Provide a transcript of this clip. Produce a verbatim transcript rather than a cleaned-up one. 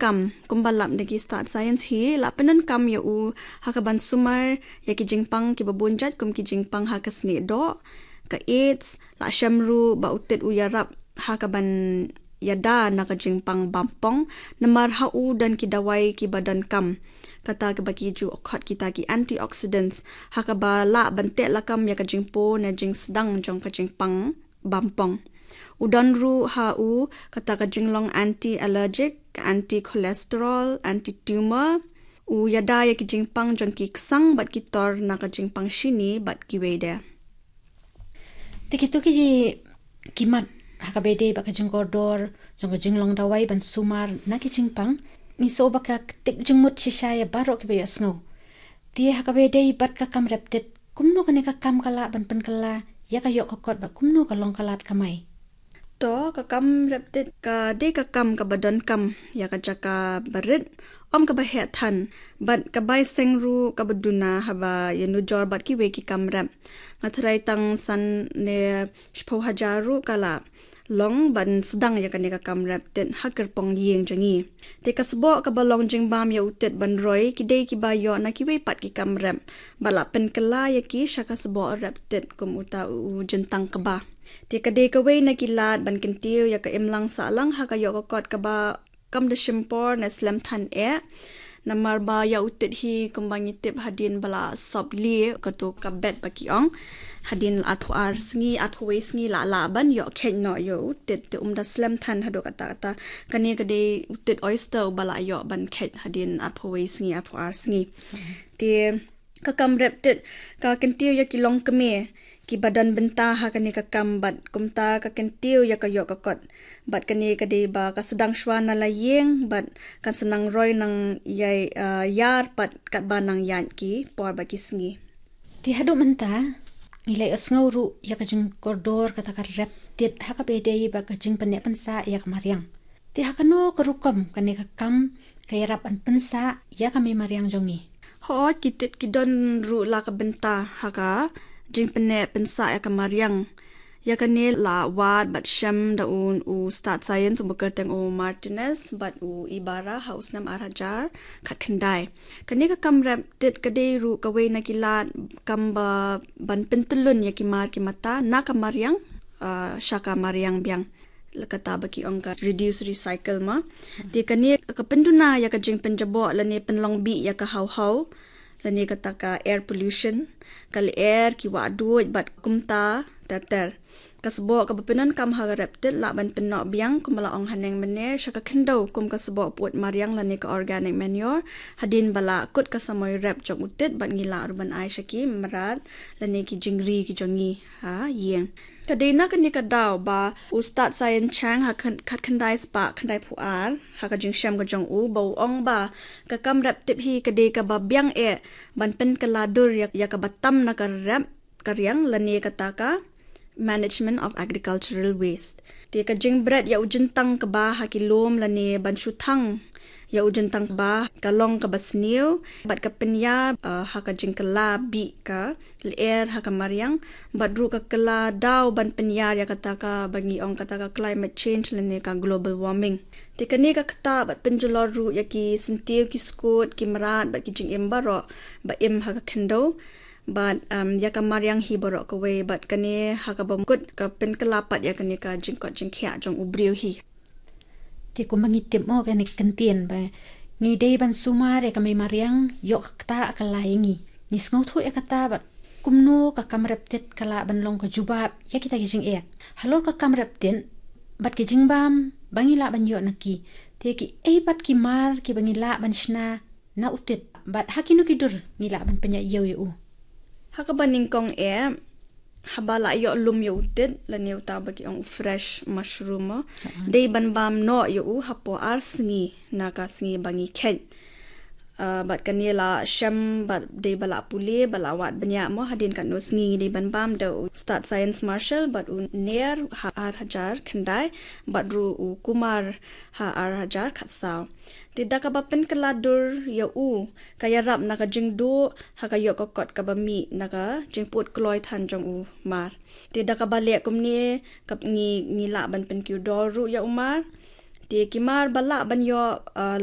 kam, kumba lap na ki stad science hi, la pyndonkam ïa u ha ka ban sumar ïa ki jingpang kiba bun jait kum ki jingpang ha ka snieh doh, ka AIDS, la shem ruh ba u tit u ïarap ha ka ban ïada na ka jingpang bampong, namar ha u don ki dawai kiba donkam, kata kaba ki ju khot kita ki antioxidants, ha kaba lah ban teh lakam ïa ka jingpur ne jingsdang jong ka jingpang bampong. U don ruh ha u kata ka jinglong anti-allergic, ka anti-cholesterol, anti-tumor. U ïada ïa ki jingpang jong ki ksang bad ki tor na ka jingpang shini bad kiwei de. Te kito ki ki mat ha kaba ïadei bad ka jingkordor jong ka jinglong dawai ban sumar na ki jingpang, ngi sngew ba ka ktik jingmut shisha ïa baroh kiba ïohsngew. Te ha kaba ïadei bad ka kam rep tit, kumno kane ka kam ka lah ban pynkylla ïa ka ïoh ka kot bad kumno ka long ka lad kamai? To, ka kam rep tit ka dei ka kam kaba donkam ïa ka jaka barit, ym kaba heh than, bad ka bai seng ruh kaba duna haba ïanujor bad kiwei ki kam rep. Nga tharai tang san ne shiphew hajar ruh ka la long ban sdang ïa kane ka kam rep tit ha kyrpong ïing jong ngi. Te ka sboh kaba long jingbam ïa u tit ban roi ki dei kiba ïoh na kiwei pat ki kam rep, bad la pynkylla ïa ki sha ka sboh rep tit kum uta u jyntang kba. Te ka dei kawei na ki lad ban kyntiew ïa ka imlang sahlang ha ka ïoh ka kot kaba kam da shim por ne slem than eh. Namar ba ïa u tit hi kumba ngi tip hadien ba la sop lieh, kato ka bed ba ki ong, hadien arphew ar sngi, arphew wei sngi la lah ban ïoh kheit noh ïa u tit, te um da slem than haduh katta katta. Kane ka dei u tit oyster uba la ïoh ban kheit hadien arphew wei sngi, arphew ar sngi. Te ka kam rep tit ka kyntiew ïa ki longkmie kiba don bynta ha kane ka kam bad kumta ka kyntiew ïa ka ïoh ka kot. Bad kane ka dei ba ka sdang shuwa na la ïing bad kan sa nang roi nang ïai, ah, ïar pat katba nang ïaid ki por bad ki sngi. Te haduh mynta ngi la ïohsngew ruh ïa ka jingkordor kata ka rep tit ha kaba ïadei bad ka jingpynneh pynsah ïa ka mariang. Te ha kano ka rukom kane ka kam ka ïarap ban pynsah ïa ka mei mariang jong ngi? Hooid, ki tit ki don ruh la ka bynta ha ka jingpynneh pynsah ïa ka mariang. Ïa kane la wad bad shem da u, u stad science uba kyrteng u Martinez bad u Ibarra ha u snem ar hajar khatkhyndai. Kane ka kam rep tit ka dei ruh kawei na ki lad kam ba ban pyntyllun ïa ki mar ki mata na ka mariang, ah, sha ka mariang biang. La kata ba ki ong ka reduce recycle ma. Te kane ka pynduna ïa ka jingpynjaboh lane pynlong bih ïa ka haw haw, lane kata ka air pollution, ka lyer, ki wah duid bad kumta ter ter. Ka sboh kaba pyndonkam ha ka rep tit lah ban pynnoh biang kumba la ong haneng mynne sha ka khyndew kum ka sboh pyut mariang lane ka organic manure, hadien ba la kut ka samoi rep jong u tit bad ngi lah ruh ban ai sha ki mrad lane ki jingri ki jong ngi ha ïing. Ka dei na kane ka daw ba u stad science Chang ha khan-, khatkhyndai spah khyndaiphew ar, ha ka jingshem ka jong u ba u ong ba ka kam rep tit hi ka dei kaba biang eh ban pynkylla dur ïa, ïa kaba tam na ka rep ka riang lane kata ka management of agricultural waste. Te ka jingbret ïa u jyntang kba ha ki lum lane ban shu thang ïa u jyntang kba ka long kaba sniew bad ka pynïar, ah, ha ka jingkylla bih ka lyer ha ka mariang, bad ruh ka kylla daw ban pynïar ïa kata kaba ngi ong kata ka climate change lane ka global warming. Te kane ka ktah bad pynjulor ruh ïa ki syntiew, ki skud, ki mrad bad ki jingim baroh ba im ha ka khyndew bad, um, ïa ka mariang hi baroh kawei bad kane ha kaba kut ka pynkylla pat ïa kane ka jingkoit jingkhiah jong u briew hi. Te kumba ngi tip mo kane ka kyntien ba ngi dei ban sumar ïa ka mei mariang, ïoh ka ktah ka la ïa ngi. Ngi sngewthuh ïa kata bad kumno ka kam rep tit ka lah ban long ka jubab ïa kita ki jingeh. Halor ka kam rep tit bad ki jingbam ba ngi lah ban ïoh na ki, te kiei pat ki mar kiba ngi lah ban shna na u tit bad ha kino ki dur ngi lah ban pynïaid ïew ïa u? Ha kaba nyngkong eh, haba la ïoh lum ïa u tit lane uta ba ki ong u fresh mushroom mo, dei ban bam noh ïa u hapoh ar sngi na ka sngi ba ngi kheit. Ah, bad kane la shem bad dei ba la pule, ba la wad bniah mo, hadien katno sngi ngi dei ban bam. Da u stad science Marshall bad u Nair ha ar hajar khyndai bad ruh u Kumar ha ar hajar khatsaw. Te da kaba pynkylla dur ïa u ka ïarap na ka jingduh ha ka ïoh ka kot kaba mih na ka jingput kloi than jong u mar. Te da kaba leh kumne ka ngi, ngi lah ban pynkiew dor ruh ïa u mar. Te ki mar ba lah ban ïoh, ah,